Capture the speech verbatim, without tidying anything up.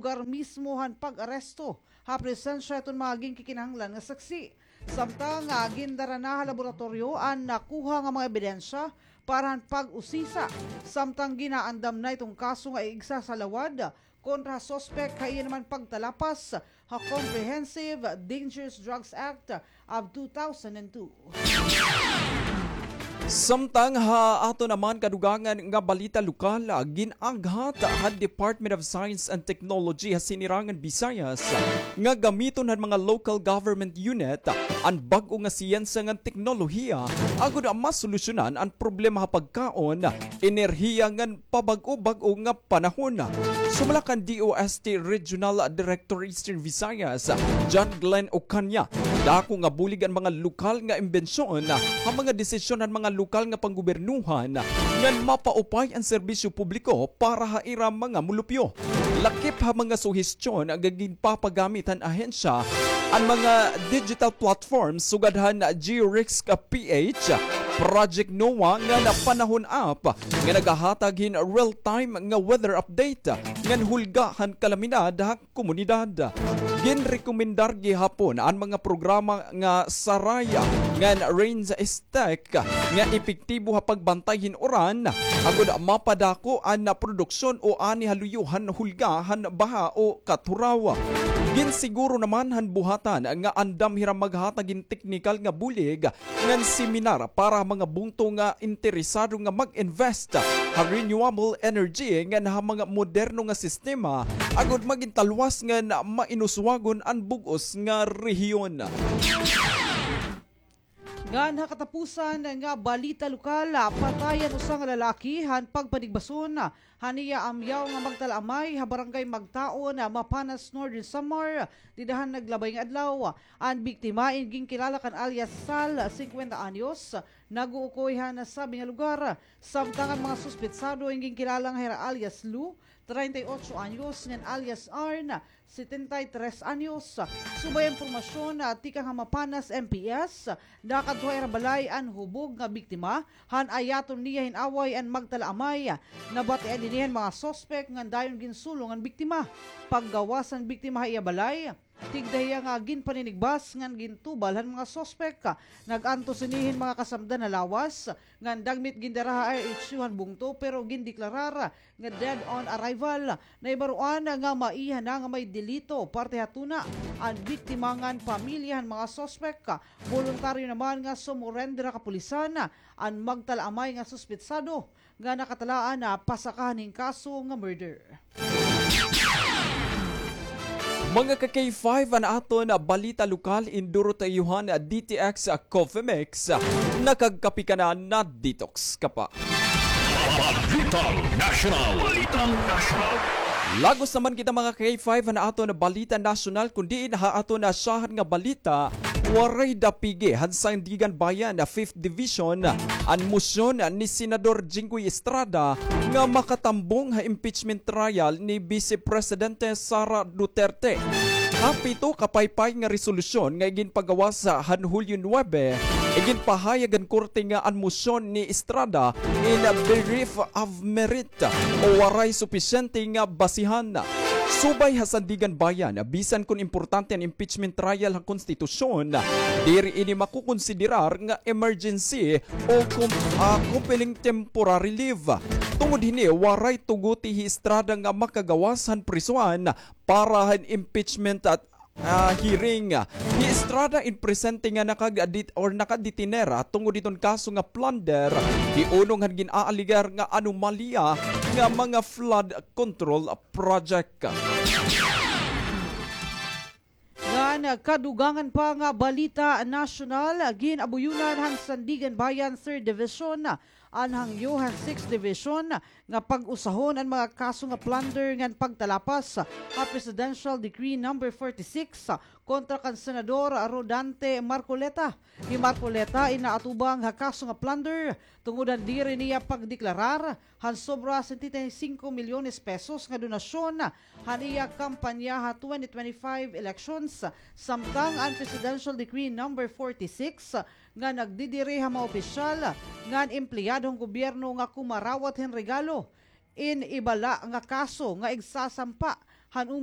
lugar mismo han pag-aresto ha presensya hiton mga ginkikinahanglan nga saksi. Samtang, ah, gindara na ha laboratoryo an nakuha nga mga ebidensya para han pag-usisa. Samtang ginaandam na iton kaso nga igsasalawad kontra ha suspek ha iya naman pagtalapas ha Comprehensive Dangerous Drugs Act of two thousand and two. Samtang ha aton naman kadugangan nga balita lokal, gin-aghat han Department of Science and Technology ha Sinirangan Visayas nga gamiton han mga local government unit an bag-o nga siyensiya ngan teknolohiya agod masolusyonan an problema ha pagkaon, enerhiya ngan pabag-o-bag-o nga panahon. Sumala kan D O S T Regional Director Eastern Visayas, John Glenn Ocaña, dako nga bulig an mga lokal nga imbensyon ha mga desisyon han mga lokal nga panggobernohan ngan mapaupay an serbisyo publiko para ha ira mga mulupyo. Lakip ha mga suhestyon nga ginpapagamit han ahensya an mga digital platforms sugad han GeoRisk P H, Project NOAA ngan Panahon App nga nagahatag hin real-time nga weather update ngan hulga han kalamidad ha komunidad. Ginrekomendar gihapon an mga programa nga saray ngan rain tech nga epektibo ha pagbantay hin uran, agod mapadako an produksyon o ani ha luyo han hulga han baha o katuraw. Ginsiguro naman han buhatan nga andam hira maghatag hin teknikal nga bulig ngan seminar para ha mga bungto nga interesado nga mag-invest ha renewable energy ngan ha mga moderno nga sistema agod magin talwas ngan mainuswagon an bug-os nga rehiyon. Ngan ha katapusan nga balita lokal, patay an usa nga lalaki han pagpanigbason han iya amyaw nga magtalaamay ha Barangay Magtaon, Mapanas, Northern Samar, dida han naglabay nga adlaw. An biktima in ginkilala kan alias Sal, singkwenta anyos, nag-uukoy han nasabi nga lugar. Samtang an mga suspetsado in ginkilala nga hira alias Lou, treinta y ocho anyos, ngan alias Arn, setenta y tres anyos. Subay an impormasyon, ah, tikang ha Mapanas M P S, nakadto ha ira balay an hubog nga biktima, han ayaton niya hin away an magtalaamay. Nabatian ini han mga suspek ngan dayon ginsulong an biktima. Paggawas han biktima ha iya balay, tigda hiya nga ginpaninigbas ngan gintubal han mga suspek. Nag-antos ini hin mga kasamdan ha lawas, ngan dagmit gindara ha R H U han bungto, pero gindeklarar nga dead on arrival. Nahibaroan nga maiha na nga may delito parte ha tuna an biktima ngan pamilya han mga suspek. Boluntaryo naman nga sumurender ha kapulisan an magtalaamay nga suspetsado nga nakatalaan na pasakahan hin kaso nga murder. Mga ka-K five, an aton balita lokal, in duro ta iyo han D T X Coffee Mix. Nakagkape ka na, na-detox ka pa. Balitang Nasyonal. Balitang Nasyonal. Lagos naman kita, mga ka-K five, han aton balita nasyonal, kun diin ha aton nasyahan nga balita, waray dapigi han Sandiganbayan Fifth Division an mosyon ni Senador Jinggoy Estrada nga makatambong ha impeachment trial ni Vice Presidente Sara Duterte. Ha pito ka paypay nga resolusyon nga iginpagawas han Hulyo nuebe, iginpahayag han korte nga an mosyon ni Estrada in bereft of merit o waray supisyente nga basihan. Subay ha Sandiganbayan, bisan kon importante an impeachment trial ha konstitusyon, diri ini makokonsiderar nga emergency o com-, ah, compelling temporary leave. Tungod hini, waray tuguti hi Estrada nga makagawas han prisohan para han impeachment at, ah, hearing. Hi Estrada in presente nga nakagdit-, or nakadetener, ah, tungod hiton kaso nga plunder, hiunong han gin-aalegar nga anomalya nga mga flood control project. Ngan kadugangan pa nga balita nasyonal, gin-abuyonan han Sandiganbayan Third Division an hangyo han Sixth Division nga pag-usahon an mga kaso nga plunder ngan pagtalapas ha Presidential Decree number forty-six kontra kan Senador Rodante Marcoleta. Hi Marcoleta in naatubang ha kaso nga plunder tungod han diri niya pagdeklarar han sobra setenta y cinco milyones pesos nga donasyon han iya kampanya ha twenty twenty-five elections, samtang an Presidential Decree number forty-six nga nagdidiri ha mga opisyal ngan empleyado han gobyerno nga kumarawat hin regalo in iba la nga kaso nga igsasampa han